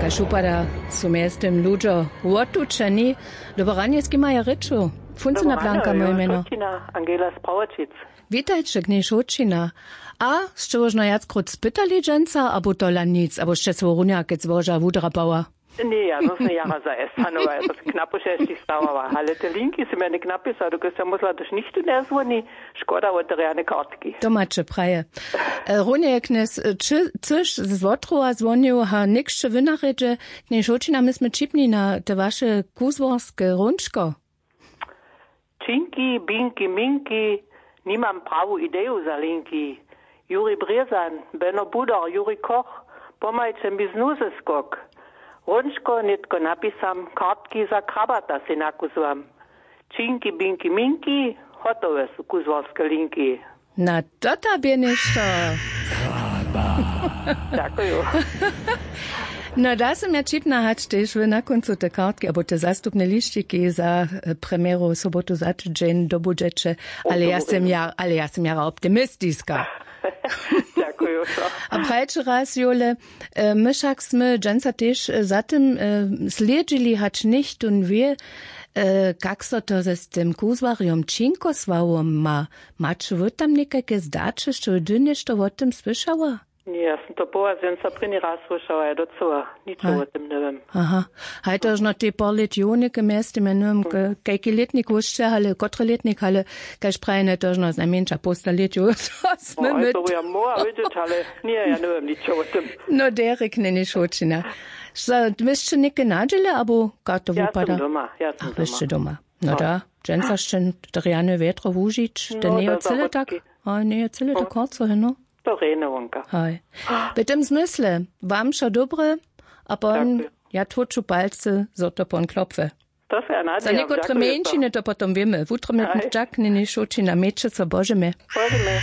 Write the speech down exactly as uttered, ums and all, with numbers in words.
Šupada su mjeztym ludźo wotučeni. Dobo ranje, z kim ja rěču? Funcyna Blanka moje mjeno. Angela z Prawočic. Witajće, knjež Hoćina. A sće wožno wjackrót spytali dźensa, abo tola nic, abo sće so runja kec woža wudrapała? Ně, ja to smy jara za estanowa, ja to se knapo šesći stawała, ale te linki sy mjene knapisa, dokelž sam mysla, dož nichtu njezwoni. Škoda wo te rjane kartki. To maće praje. E, runje je knjez, e, či cyš z wotrowa zwonił, ha někšće wynarjedźe. Knjež Hoćina, my smy ćipni na te waše kuzłorske hrónčko. Činki, binki, minki, nimam prawu ideju za linki. Juri Brězan, Beno Budar, Juri Koch, pomhajće mi znuzy skok. Hrónčko nětko napisam, kartki za krabata sej nakuzłam. Činki, binki, minki, hotowe su kuzłorske linki. Na to tobě něšto. Dźakuju. No, da sym ja ćipna, hač tež wy na kóncu te kartki abo te zastupne lišćiki za, e, premjeru sobotu za tydźeń dobudźeće. Ale ja sym ja, ale ja sym jara optimistiska. Dźakuju. A prajće raz, Jule, e, my wšak smy dźensa tež, e, za tym, e, slědźili, hač něchtó wě, e, kak so to z tym kuzłarjom Činkosławom ma. Maće wy tam někajke zdaće, što by ty něšto wo tym słyšała? Ně, ja sym to połaz dźensa prěni raz słyšała, ja docyła ničo wo tym njewěm. Aha. Haj, to žno tej pár lět jo něke mjeztym, ja njewěm, kajki lětnik wósće, ale kotry lětnik, ale kaž prajene, to žno znajmjeńša połsta lět jo, so smy my to ja móhła wědźeć, ale ně, ja njewěm ničo wo tym. No, derje knjež Hoćina. Što, wy sće něke nadźěle, abo kak to wupada? Ja sym doma, ja sym doma. Wy sće doma. No da, dźensa sće to rjane wjetro wužić, to njeje cyle tak. Haj, njeje cyle tak horco, no. To rjene wonka. Haj. W tym zmysle, wam wšo dobre, a pon, ja tłuču palcy, zo to pon klopwy. To se ja nadźijam. Za někotre mjeńšiny to potom wěmy. Wutrobnje dźak, knjež Hoćina, mějće so, božemy. Božemy.